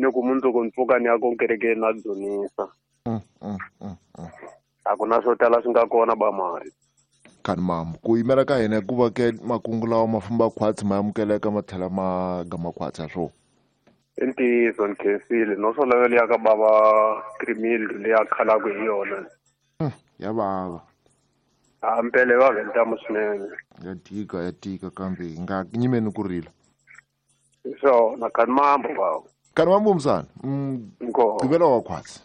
Ni ku mundzuku ni pfuka ni ya ko kerekeni na dzunisa. A ku na swo tala swi nga kona ba mali. Kani mamu ku yimela ka hina ku va ke makungu lawa ma famba khwatsi ma amukeleka ma tlhela ma gama khwatsi ha swona. I ntiyiso ni khensile no swo lava liya ka bava krimil leyi a khalaka hi yona. Ya vava. A mpele va ventamu swinene. Ya tika kambe hi nga nyimeni ku rila. Hi swona kani mambo bava. Kani mambo msana. Gqivela wa khwatsi.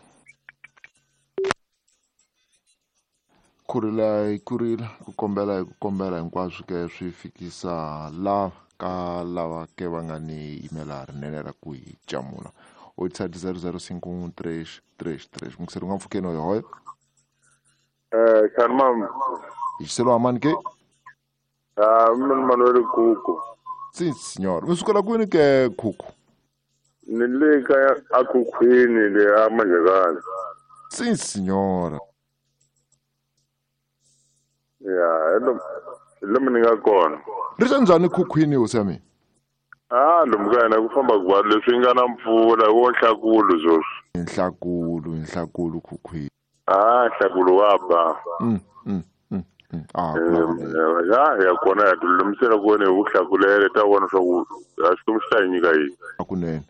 Kurila hi kurila ku kombela hi ku kombela hinkwaswo ke swi fikisa la ka lava ke va nga ni yimela rinene ra ku hi camula. 87005333 mukiseri nga mpfukeni hoyo hoyo. Kani mam. Hi xiselo amani ke? Mina Manuel Kuku. Si signor, mi sukela kwini ke Kuku? Ni le ka akhukhwini le a Manjekani. Si signora. Ya, lomu ni nga kona. Ri xa njhani khukhwini hosi ya mina? Lomu ka hina ku famba ku leswi nga na mpfula wo nhlakulu sweswi. Nhlakulu khukhwini. Nhlakulu wa ba. Ya kona ya tilulamisela ku wena hi vuhlakulele ta vona swa ku a Xikwembu xi ta hi nyika yini.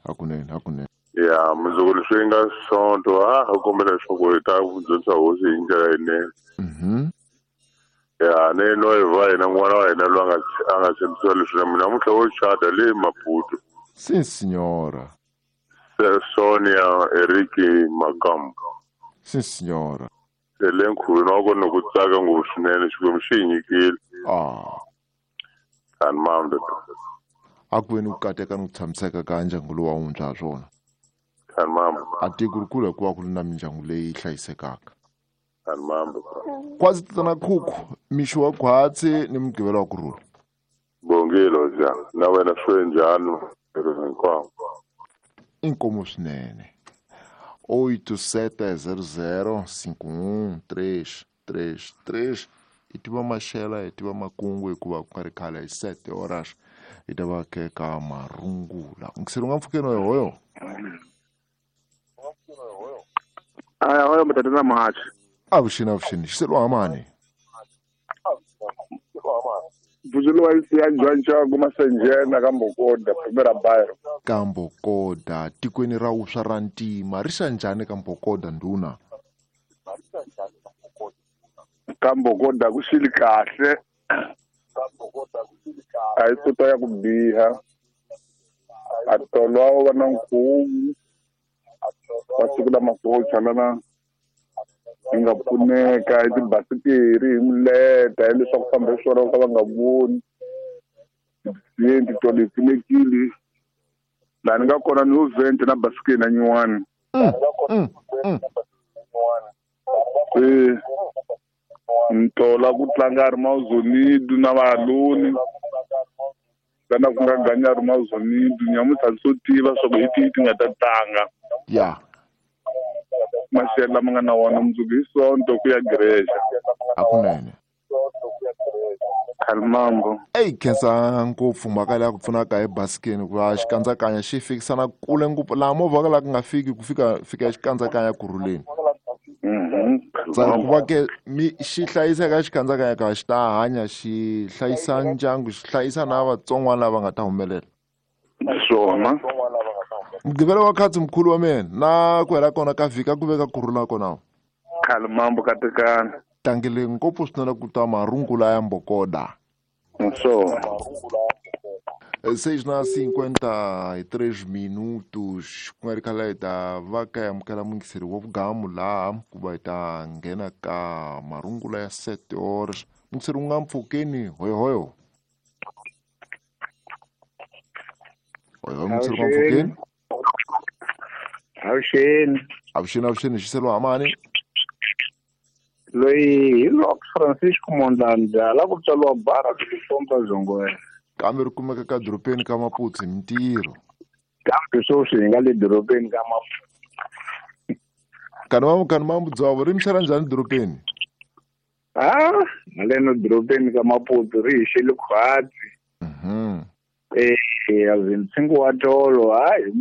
Hakunene. Ya, mundzuku leswi nga Sonto a kombela leswaku hi ta dyondzisa hosi hi ndlela yinene. Ya, ne no va hina n'wana wa hina loyi a nga tshembisiwa leswi na mina namuntlha wo chata le Maputo. Si signora. Sonia Eriki Makambo. Si signora. Se le nkhuveni wa kona ku tsaka ngopfu swinene Xikwembu xi hi nyikile. Kani mambo. A ku veni ku kateka ni ku tshamiseka ka ndyangu lowu wa wuntshwa ha swona. Kani mambo. A tiko ri kula hikuva ku ri na mindyangu leyi hlayisekaka. Kani mambo. Kwazi tatana Khuku, mixo wa khwatsi ni mugqivela wa kurhula. Bongile ja, na wena swi njhani hinkwavo? Inkomo swinene. 87005133 hi tiva maxela hi tiva makungu hikuva ku nga ri khale hi 7 horas hi ta va ke ka marungula. Mukiseri nga mpfukeni hoyo. Aya hoyo mtatana mahachi. Avuxeni xiselo amani. Buzulu wa isiya njwanjwa kumasenjena ka Mbokoda primera bairo. Ka Mbokoda tikweni ra uswa ra ntima ri xa njhani ka Mbokoda ndhuna? Ka Mbokoda ku xili kahle. A yi sota ya ku biha. A tolwa va na nkhuvu. Va siku lama socha lana hi nga pfuneka hi tibasikiri hi mileta hi leswaku famba hi swona ka va nga voni titolo hi pfunekile laha ni nga kona ni yo vente na basikiri na nyuwani. Se ntola ku tlanga ri mazonidu na valoni lana ku nga ganya ri mazonidu nyamuntlha swo tiva swa ku hi tihi ti nga ta tlanga. Ya. Maxelo lama nga na wona mundzuku hi Sonto ku ya Grecia. Hakunene. Khalimambo. Eyi khensa ngopfu mhaka leyi ku pfunaka hi basikeni ku va xikandzakanya xi fikisana kule ngopfu laha movha ka laha ku nga fiki ku fika xikandzakanya kurhuleni. Ku va ke mi xi hlayiseka xikandzakanya ka xi ta hanya xi hlayisa ndyangu xi hlayisa na vatsongwana lava nga ta humelela. Swona. Mugqivela wa khatsi mkhulu wa mina na ku hela kona ka vhiki a ku veka kurhula kona. Khalimambo katekana. Tlangele ngopfu swinene ku ta marungula ya Mbokoda. Swona. 6:53 minutos ku nga ri khale hi ta va ka amukela muyingiseri wa vugamu laha ku va hi ta nghena ka marungula ya 7 horas. Muyingiseri wu nga mpfukeni hoyohoyo. Hoyohoyo muyingiseri wu nga mpfukeni. Avuxeni xiselo amani. Loyi hi Lok Francisco Mondlane la ku tswariwa bara ku pompa Zongwe. Kambe ri kumeka ka dorobeni ka Maputo hi mintirho. Kambe sweswi hi nga le dorobeni ka Maputo. Kani mambu dzavo ri mixela njhani dorobeni? Haleno dorobeni ka Maputo ri hi xele khwatsi. Ntsengo wa tolo hi